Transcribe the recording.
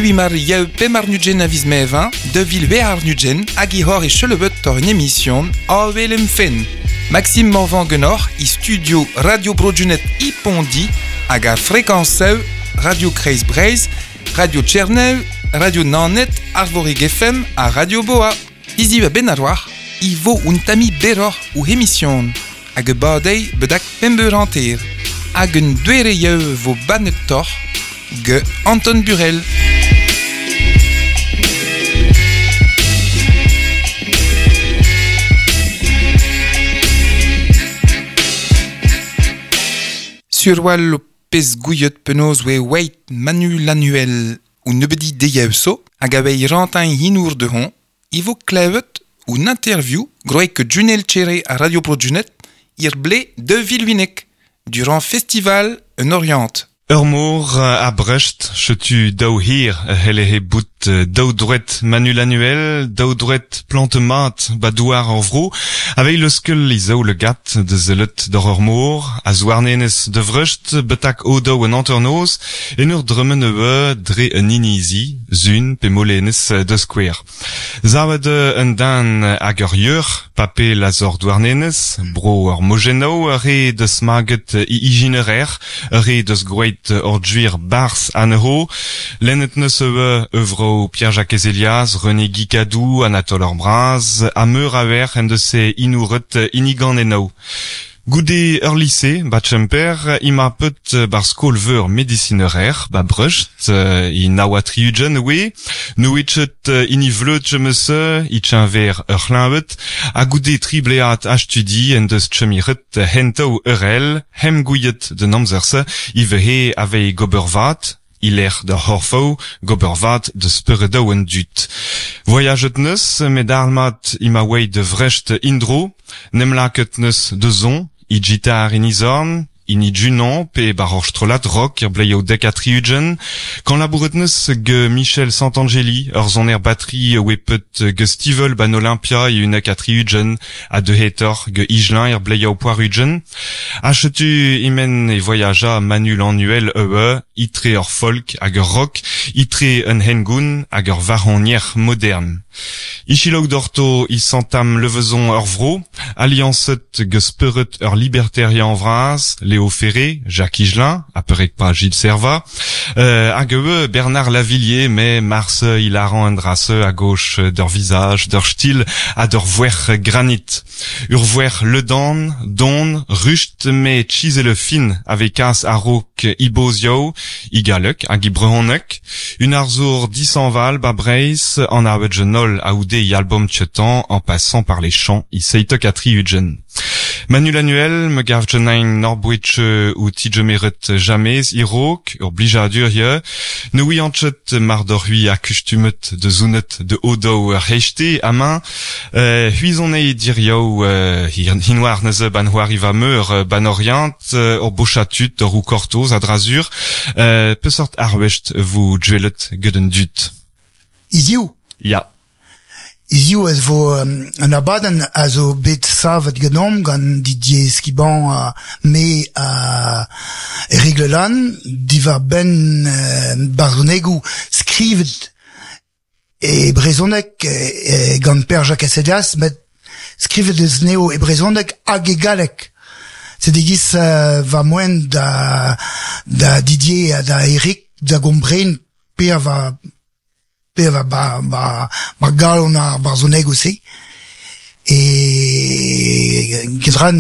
Hiziv emañ ar Yaou 25 a viz Mevin 2020 hag e c'hoari chelebeut tor un emision Avel em fenn. Maxime Morvan genoc'h e studio Radio Bro-Junet e Pondi hag ar frekañsoù Radio Kreiz Breizh, Radio Tchernev, Radio Naoned, Arvorig FM ha Radio Boa. Hiziv a-benn ar war e vo un tammig berroc'h o emision hag e badey bedak pemp eur hanter. Hag un doare yev vo bannetoc'h ge Anton Burel. Surwal ho pezh gouiet penaos oe oeit Manu Lanuel o nebeudi deiz zo hag a vei rantañ hinour dehon e vo klevet un interview groet ke Junel Tchere a Radio Bro Junet ir ble 2008 durant festival en Orient. Ur mor a Brest, setu daou hir a c'hellehe bout daou droed Manu Lanuel, daou droed plante mat ba douar ar vro, aveit leuskel e zaou legat da sellet doc'h ur mor, a Zouarnenez da Vrest betak o daou an hanternoz, en ur dremen eue dre un inizi, Sun pe Molenez da skouer. Savet un den hag ur yeuc'h, pape lazor Douarnenez, bro ur mojennoù, ur re deus maget e ijinerer, ur re deus groet ur gwir barzh anezho. Lennet neus eue euvro Pierre-Jacques Elias, René Guicadou, Anatole Ur Braz, ha meur a wer en deus e inouret hini eno. Goude ur lise, ba Tchemper, ima peut bar skol-veur medisinerer, ba Brest, i naoa tri-ugent oe, nouetchet hini vleud chemeus i tchenver ur c'hleñved, ha goude tri blead a studi en deus chemiret hentaou eurel, hem gouiet d'un amzer-se, i vehe avei gober vat, ilec'h da c'horfoù, gober vat da speredoù an dud. Voyajet neus, met armat ima oeit de Vrest indro, nem laket neus de zon, i gitar in izorn, hini Junon pe bar ur strollad rock er bleioù dek ha tri-ugent, kan labouret neus ge Michel Santangeli, ur soner batterie oe peut ge Stivel ban Olympia e unek ha tri-ugent, ha de hetor ge Igelin er bleioù poar-ugent. Ha setu imen e voyaja Manu Lanuel eue, itre ur folk hag ur rock, itre un hengoun hag ur varonier modern. Ichilog dorto i santam levezon ur vro, alliancet ge speuret ur libertarien vras, Léo Ferré, Jacques Higelin, a perek pa Gilles Servat, hag eue Bernard Lavillier, mais mars hilaran un drasse à gauche d'ur visage, d'ur stil ha d'ur voer granit. Ur voer ledan, don, rust, me chisele fin avec as a-raok ibozio, i galleg hag i brehoneg, un arzour disanval ba Breizh an avet jenol a oude i album tchetan en passant par les champs i seitek a tri-ugent. Manu Lanuel me gav genain Norbwich ou tidjemeret jamez irok, ur blijadur ye, ne ouianchet mar d'ur hui a kustumet de zounet de odo ur hechte amain, huizon e dirioù hinoar neuze ban c'hoari va meur ban Orient, ur bochatut ur ou kortoz a drazur, peseurt arwest vo djuelet get an dud. Hiziv. Ya. Hiziv ez vo un abadenn a zo bet savet ganeomp gant Didier Squiban ha me ha Eric Lelanne diwar-benn barzhonegoù skrivet e brezhoneg gant Pêr-Jakez Helias, met skrivet eus anezho e brezhoneg hag e galleg. Sed e-giz va moen da da Didier ha da Eric da gompren per va pe va ba ba ba galon ar barzhonegoù-se. E get ran